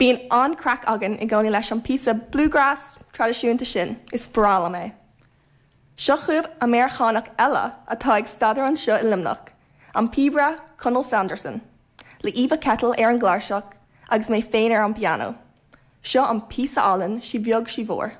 Bíonn an-craic againn i gcónaí leis an píosa bluegrass traidisiúnta sin, is breá liom é. Seo chugaibh Ameiriceánach eile atá ag staidéar anseo i Luimneach, an píobaire Conall Sanderson, le Eva Kettle ar an gcláirseach agus mé féin ar an bpianó. Seo an píosa álainn Sí Bheag Sí Mhór.